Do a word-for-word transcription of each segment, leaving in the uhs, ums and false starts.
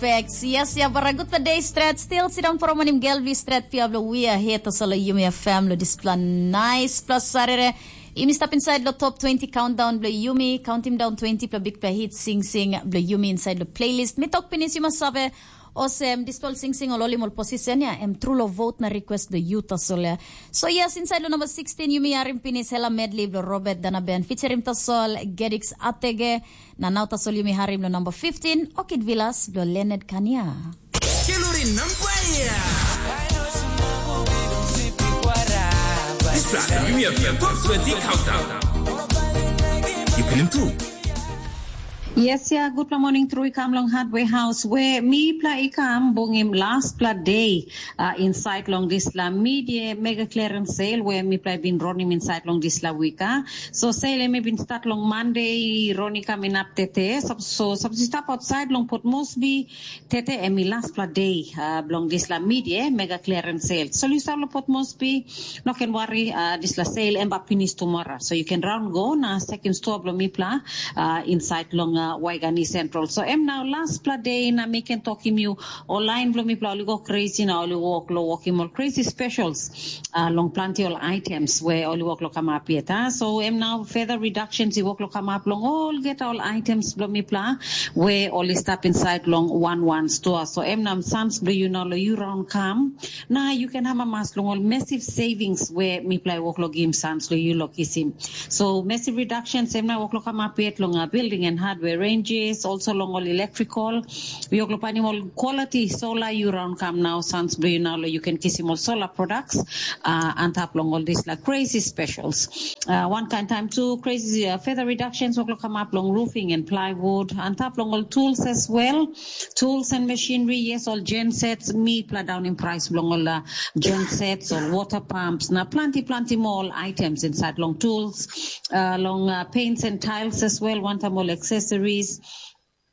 Perfect. Yes, ya bara gutpela day stret. Still sit down for a morning girl. We stret pia blo we are here to solo Yumi F M lo dispela nice plus sarere. Yumi stap inside lo top twenty countdown blo Yumi. Count him down twenty pla big pla hit sing sing blo Yumi inside lo playlist. Mi tok pinis Yuma sabe. Osem, dispel sing sing ol olim ol position ya. Em true lo vote na request blo you tasol ya. So yes, inside lo number sixteen Yumi harim pinis Hela Medley blo Robert Danaben featuring tasol Gedix Atege. Na nau tasol yumi harim lo number fifteen, Orchid Villas blo Leonard Kania. Kelori nampai ya. Dispela yumi ya top twenty countdown. You can improve. Yes, ya, gutpela morning tru i kam long Hardware House, we mipela i kam bungim lastpela day uh, inside long dispela media mega clearance sale, we mipela i bin ronim inside long dispela wika. So sale em i bin start long Monday, roni kam inap tete. So, so, so i stap outside long Port Moresby, tete em i lastpela day uh, bilong dispela media mega clearance sale. So you start long Port Moresby, no can worry, uh, dispela sale em ba pinis tomorrow. So you can round go na second store bilong mipela uh, inside long uh, Waigani Central. So em now lastpela day na mi can talk him you, ol lain bilong mipela ol i go crazy na ol i work lo work him ol crazy specials uh, long planti ol items we ol i work lo come up yet. Uh. So em now further reductions i work lo come up long all get all items bilong mipela we ol i stap inside long one one store. So em now sons bilong you now lo you round come. Na you can have a mas long all massive savings we mipela i work lo gim sons lo you lo kisim. So massive reductions em na work lo come up yet long uh, building and hardware ranges, also long all electrical. We work lo panim all quality solar you round come now sons bilong you now lo you can kisim all solar products uh, on top long all these like crazy specials. Uh, one kind time too, crazy uh, further reductions work lo come up long roofing and plywood, on top long all tools as well. Tools and machinery, yes, all gen sets, mipela down in price bilong all uh, gen sets, all water pumps, na planti planti more all items inside long tools, uh, long uh, paints and tiles as well, one time all accessories,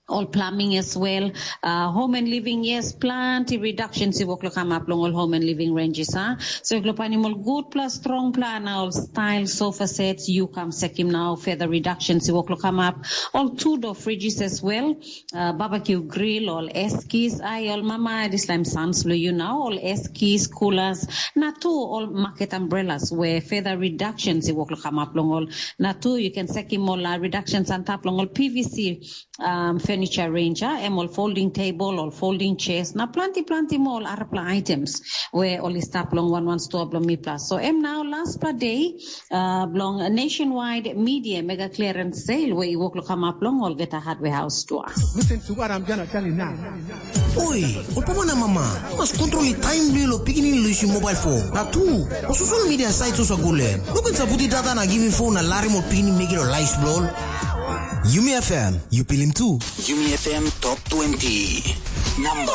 all plumbing as well, uh, home and living, yes, planti reductions i work lo come up long all home and living ranges, huh? So if lo panim all good plus strong plan, all style sofa sets, you come sekim now, further reductions i work lo come up, all two door fridges as well, uh, barbecue grill, all eskis, ai all mama, this time sons lo you now, all eskis, coolers, na two all market umbrellas where further reductions i work lo come up long all, na two you can sekim all uh, reductions on top long all P V C um, furniture range, uh, em all folding table, all folding chairs, na planti planti more all arapla items where all i stap long one one store bilong mipela. So em now lastpela day uh, bilong nationwide media mega clearance sale where i work lo come up long all get a hardware house store. Listen to what I'm gonna tell you now. Oi, ol papa na mama, mas kontrol i taim bilong lo pikinini lo isim mobile phone. Na tu, o social media site sosa gule. Lukin sa puti data na giving phone na larim ol pikinini mekim lo life bilong. Yumi F M, you pilim tu. Yumi F M Top twenty. Number